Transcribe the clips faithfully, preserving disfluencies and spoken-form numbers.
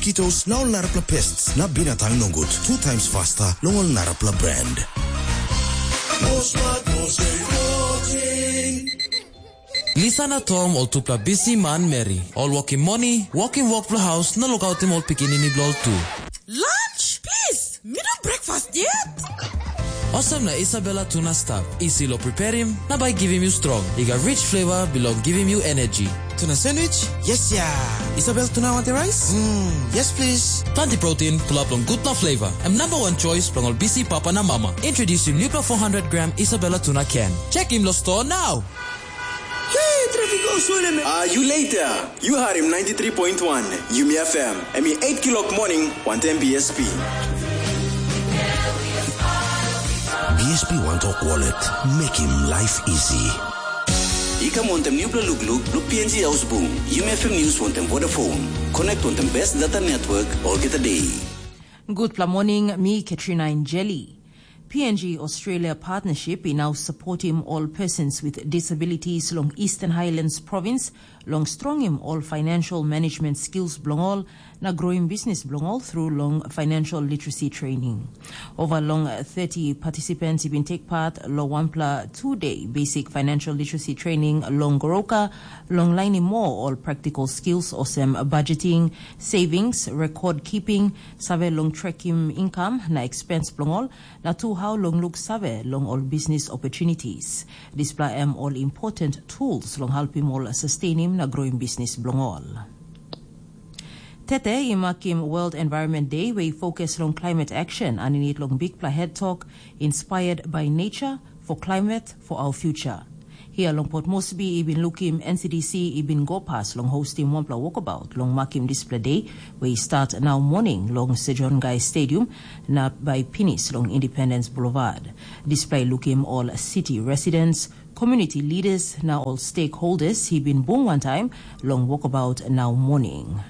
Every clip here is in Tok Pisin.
mosquitoes na ol narapela pests na binatang nogut two times faster long ol narapela brand. Lisa na Tom ol tupela bisi manmeri, ol wokim moni, wokim wok bilong haus na lukautim ol pikinini bilong ol tu. Lunch, please. Mi no breakfast yet. Olsem na Isabella tuna stap, isi long preparim na bai givim yu strong. I gat rich flavor bilong givim yu energy. Tuna sandwich? Yes ya. Isabel tuna wantaim rice? Mm, yes please. Planti protein, pulap long gutpela flavor. Em number one choice bilong ol bisi papa na mama. Introducing nupela four hundred gram Isabella tuna can. Check him lo store now. Hey, traffic go swell me. Ah, you later. You heard him ninety-three point one Yumi F M. Em i eight kilok morning, one ten B S P. B S P One Talk Wallet. Make him life easy. I kam wantem nupela lukluk bilong P N G Ausbung, Yumi F M News wantem Vodafone. Connect wantem best data network olgeta day. Gutpela morning, mi Katrina Injeli. P N G Australia Partnership i nau supportim ol persons with disabilities long Eastern Highlands Province long strongim ol financial management skills bilong ol na growim bisnis bilong ol through long financial literacy training. Ova long thirty participants i bin take part long wanpela two-day basic financial literacy training long Goroka long lainim moa ol practical skills olsem budgeting, savings, record keeping, save long tracking income na expense bilong ol, na tu hau long luksave long ol business opportunities. Dispela em ol important tools long helpim ol sustainim na growim business bilong ol. Tete i makim World Environment Day we i fokus long climate action aninit long bikpela head tok Inspired by Nature for Climate for Our Future. Hia long Port Moresby i bin lukim N C D C i bin go pas long hostim wanpela wokabaut long makim dispela de we i start nau moning long Sir John Guy Stadium na bai pinis long Independence Boulevard. Dispela i lukim ol city residents, community leaders na ol stakeholders i bin bung wantaim long wokabaut nau moning.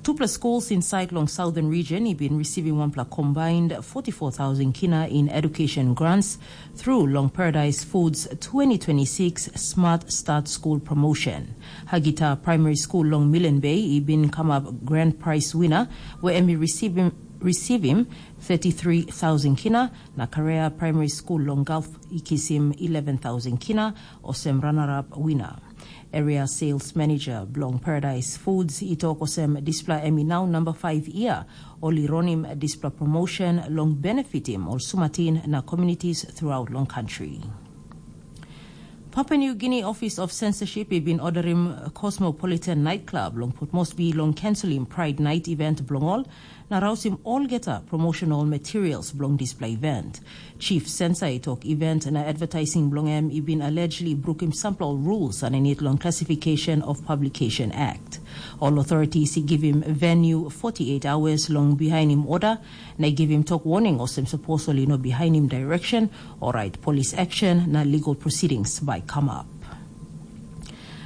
Tupela schools inside long Southern Region i bin receiving wanpela combined forty-four thousand kina in education grants through long Paradise Foods twenty twenty-six Smart Start School promotion. Hagita Primary School long Millen Bay i bin come up grand prize winner, where em i receiving, receiving thirty-three thousand kina, na Karea Primary School long Gulf i kisim eleven thousand kina, olsem runner-up winner. Area Sales Manager bilong Paradise Foods i tok olsem dispela em i nau namba five year ol i ronim dispela promotion long benefitim ol sumatin na communities throughout long country. Papua New Guinea Office of Censorship i bin orderim Cosmopolitan Nightclub long Port Moresby long cancelim Pride Night event bilong ol na rausim olgeta promotional materials bilong dispela event. Chief Censor i tok event na advertising bilong em i bin allegedly brukim sampela rules aninit long Classification of Publication Act. Ol authorities i givim venue forty-eight hours long bihainim order na i givim tok warning olsem sapos ol i no bihainim direction, orait police action na legal proceedings bai come up.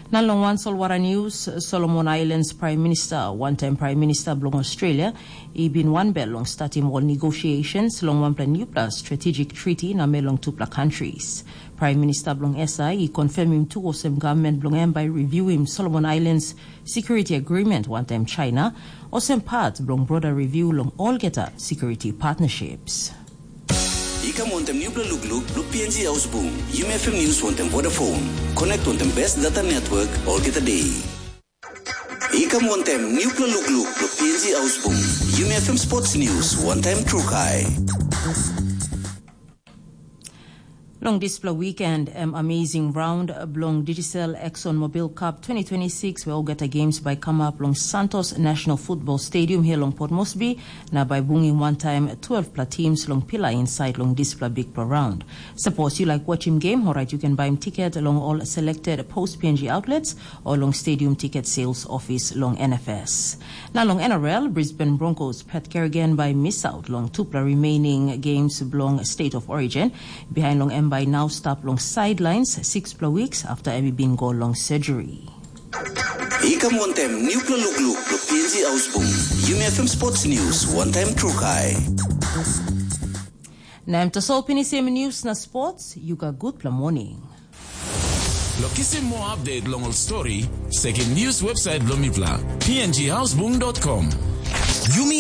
Na long wan solwara news, Solomon Islands Prime Minister, wantaim Prime Minister bilong Australia, i bin wanbel long statim ol negotiations long wanpela nupela strategic treaty na me long tupela countries. Prime Minister bilong S I i confirmim tu olsem government bilong em bai reviewim Solomon Islands Security Agreement wantaim China, olsem part bilong broader review long olgeta security partnerships. I kam wantem nupela lukluk bilong P N G Ausbung, Yumi F M News wantem Vodafone. Connect wantem best data network olgeta day. I kam wantem nupela lukluk bilong P N G Ausbung, Yumi F M Sports News wantaim Trukai. Long dispela weekend em amazing round bilong Digicel Exxon Mobil Cup twenty twenty-six, we olgeta games bai kamap long Santos National Football Stadium here long Port Moresby, na bai bungim wantaim twelve pla teams long pila inside long dispela bikpela round. Suppose you like watching game, alright, you can buy ticket along all selected post P N G outlets or long stadium ticket sales office long N F S. Na long N R L, Brisbane Broncos Pat Kerrigan bai miss out long tupela remaining games bilong State of Origin. Behind long em bai now stap long sidelines six pla weeks after em bin go long surgery. I kam wantem nupela lukluk lo P N G Ausbung. Yumi F M Sports News, wantaim Trukai. Na em tasol pinisim news na sports, you got good pla morning. Lo kisim moa update long ol stori, sekim news website bilong mipela, P N G houseboom dot com. Yumi